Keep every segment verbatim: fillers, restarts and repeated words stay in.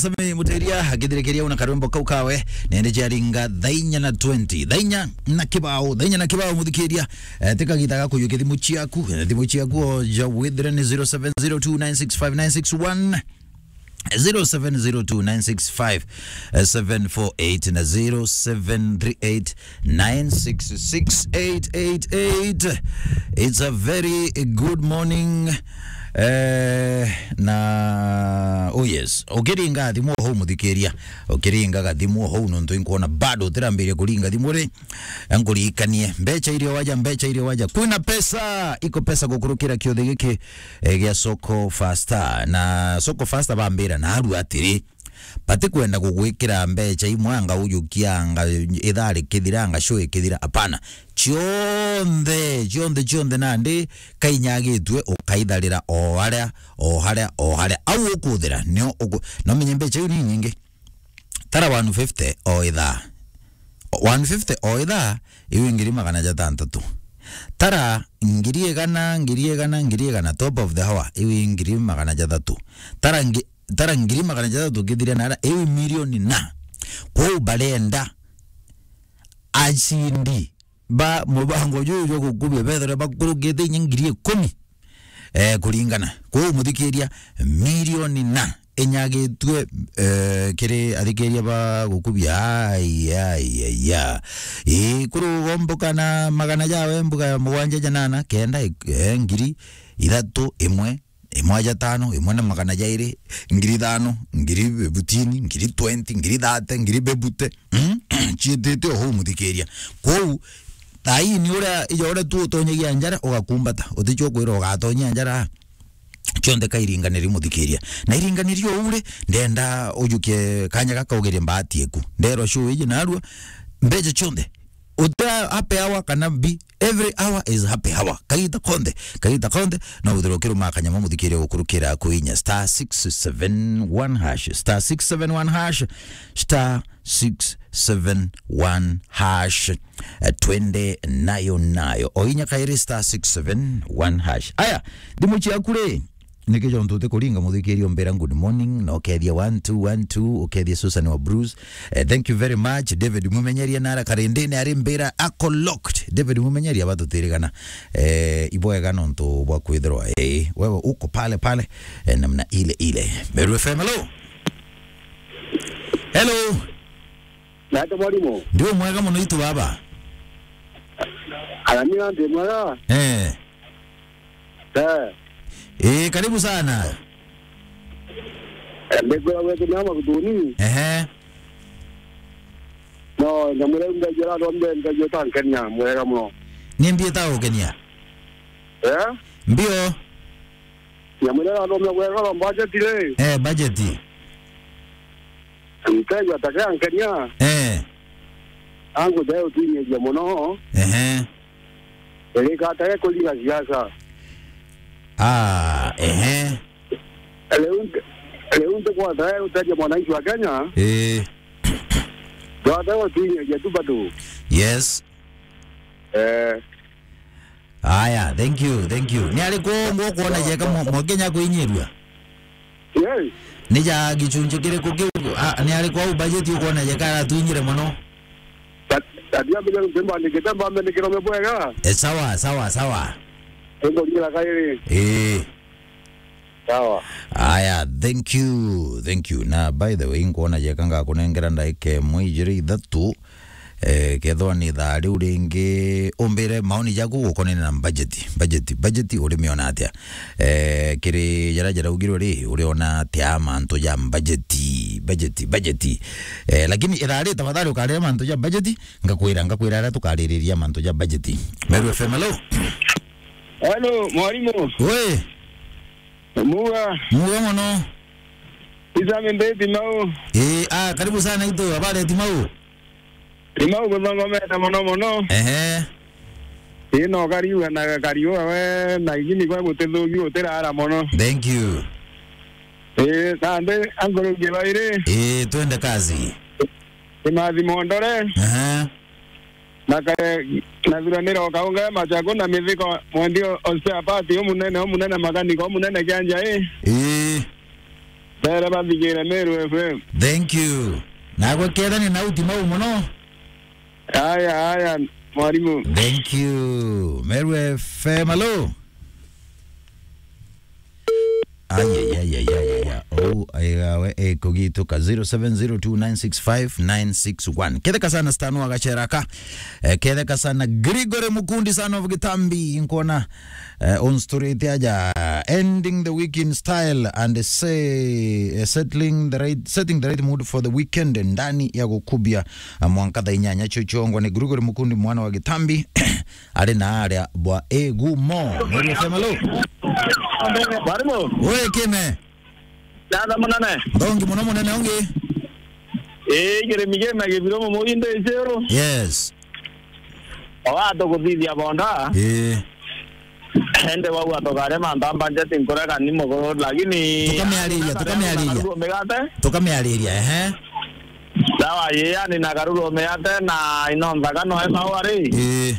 Sami Muteria, akithirikiria una karwimbo kau kawe, nende jaringa thainya na twenty. Thainya na kibao, thainya na kibao, muthikiria. Eh, tika gita ga kuyukia thimu ciaku, eh, thimu ciaku o ja withire ni zero seven zero two nine six five nine six one, zero seven zero two nine six five seven four eight na zero seven three eight nine six six eight eight eight. It's a very good morning. Eh, na, oh yes, ukiringa thimu hau, muthikiria, ukiringa gathimu hau, nontu inkuona bado utirambiria kuringa thimu ri, nkuririkanie, mbeca iria waja, mbeca iria waja, kwina pesa, iko pesa gukurukira kiuthi giki, eh, gia Soko Fasta. Na Soko Fasta bambira narua atiri, batikwenda gugwikira mbeca imwe, anga ujukia, anga ithaa rikithira, anga show ikithira. Apana. Cionthe, cionthe, cionthe nandi kainyagitue ukaitharira o haria, o haria, o haria. Au ukuthira, nio uku-, no menye mbeca iu ni nyingi. Tara one fifty o ithaa. One fifty o ithaa, iu ngiri magana jatantatu. Tara ngiri igana, ngiri igana, ngiri igana, top of the hour, iu ngiri magana jathatu. Tara ngi-, tara ngiri magana jathatu kithire nara, iu milioni na. Kwou barenda acindi ba mubango juju jwa gukubia bethire bakurukite inya ngiri ikumi, eh, kuringana. Kwou muthikiria, milioni na inyagitue, eh, kiri athikiria ba gukubia. Ai, ai, ai, ya. Ii, kurugomboka na magana jawe mbuga ya mugwanja janana, kenda, eh, ngiri ithatu, imwe, imwe aja tano, imwe na magana jairi, ngiri ithano, ngiri bebutini, ngiri twenty, ngiri thate, ngiri bebute. Mm? Ciitite o hau muthikiria. Kwou, thaa ii ni uria, ija uria tu utonyagia njara, ugakumbata. Uticio kwira ugatonyia njara. Cionthe kairinganiri muthikiria. Na iringaniri o uri, ndenda ujukie kanya gaka ugerie mbaati eku. Nderwa show iji narua, mbeca cionthe. Uta happy hour kana mbi, every hour is happy hour. Kagita konthe, kagita konthe, no withirwe ukiruma kanyama muthikiria gukurukira kuinya star six seven one hash, star six seven one hash, star six seven one hash. Eh, twende nayo nayo. O inya kairi star six seven one hash. Aya, thimu ciaku ri, niki jontu utikuringa muthikiria umbira good morning, na ukethia one two one two, ukethia Susan wa Bruce. Eh, thank you very much. David Mumenyeria nara karindini ari mbira ako locked. David Mumenyeria batutirigana. Eh, ibwega nontu bwa kwithirwa, eh, wewe uko pale pale, eh, namna ile ile. Meru F M, hello. Hello. Nate mwarimu. Ndio mwega muno itu baba. Ana ni ande mwega. Eh. Eh. Eh, karibu sana. Ndegwa wetu nyama kutuni. Ehe. No, nyamureu ndajira rombe ndajira tankenya mwega muno. Ni mbi ita ukenya? Eh? Mbio. Nyamureu rombe mwega ro budget ri. Eh, budget. Ntegwa takea nkenya. Eh. Angu jae utinyeria muno. Ehe. Erika atare kuringa siasa. Ah, ehe. Riu nti-, riu ntikwata uteria mwananchi wa Kenya. Eh. Twata utinyeria tu bado. Yes. Eh. Aya, thank you, thank you. Ni ariku ungu ukuona jeka mwa-, mwa Kenya kuinyirua? Yes. Ni ja gicunji kiriku kiu? Ah, ni ariku au budget ukuona jeka aratuinyire muno? Ta-, tatia mbere ntemba ndikite mbambe ndikirome bwega. Eh, sawa, sawa, sawa. Ego ngira kairi. Eh. Sawa. Aya, thank you, thank you. Na by the way, nkuona jeka ngakunengera ndaika imwe ijiri ithatu. Eh, kethwa ni thaa riu ringi, umbire maoni jaku gukonene na budget. Budget, budget urimiona atia? Eh, kiri jaria jaraugirwe ri, uriona atia mantu ja budget, budget, budget? Eh, lakini ithaa ri tafadhali ukarire mantu ja budget, ngakwira, ngakwira aria tukaririria mantu ja budget. Meru F M, hello? Hello, mwarimu. We. Muga. Muga muno. Isami mbiti mau. Eh, ah, karibu sana itu, habari ya Timau? Timau guthongomete muno muno. Ehe. Ii no kariuga na kariuga we na igini kwa gutithugi utirara muno. Thank you. Ii, nandi ankurukie bairi. Ii, twende kazi. Kimathi Mondore. Ehe. Na kare, na thuranira o kaunga ya Machaku na mithiko mwendi o, osteopati umunene, umunene makaniko, umunene kianja ii. Ii. Bere bathigire Meru F M. Thank you. Nagwe kethani na uti mau muno. Aya, aya, mwarimu. Thank you. Meru F M, hello. Ayayayayaya. Oh, aigawe, eh, kugituka zero seven zero two nine six five nine six one. Ketheka sana Stan wa Gacheraka. Eh, ketheka sana Gregory Mukundi, son of Gitambi. Nkona, eh, on story ite aja. Ending the week in style and say, eh, settling the right, setting the right mood for the weekend ndani ya gukubia, eh, mwanka thaa inyanya cio ciongwa ni Gregory Mukundi mwana wa Gitambi. Ari na aria bwa igumo. Meru F M, hello. Mwarimu. Wi kime. Dada munene. Ndongi muno munene ungi. Ii, kirimi kime gibiro mumugi ndi icuru. Yes. Oga tukuthithia bonda. Ii. Ende wau atogare mantamba njeti nkurega ni muguru, lakini tukamiariria, tukamiariria. Karuru migate. Tukamiariria, ehe. Sawa, ye yani na karuru migate na ino nthaka no ema wari. Ii.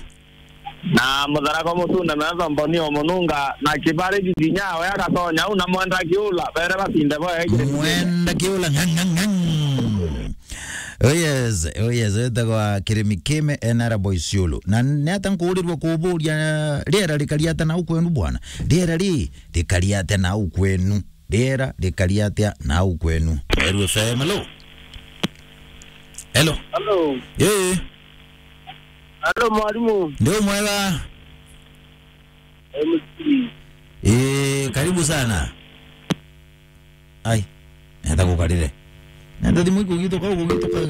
Na mutharako mutune metho mboni o mununga, na kibari giginya we agatonya u na mwenda kiula, bere basinde bo eki. Mwenda kiula, ngang, ngang, ngang. Oh yes, oh yes, wetagwa Kirimi Kime, N R Boy Siolo. Na ni ata nkuurirwa kuburia, riera rikari atia nau kwenu bwana? Riera ri, rikari atia nau kwenu? Riera rikari atia nau kwenu? Meru F M, hello. Hello. Hello. Eh. Hello, mwarimu. Ndio mwega. M C. Eh, karibu sana. Ai, nenda kukarire. Nenda thimu ikugituka, ikugituka.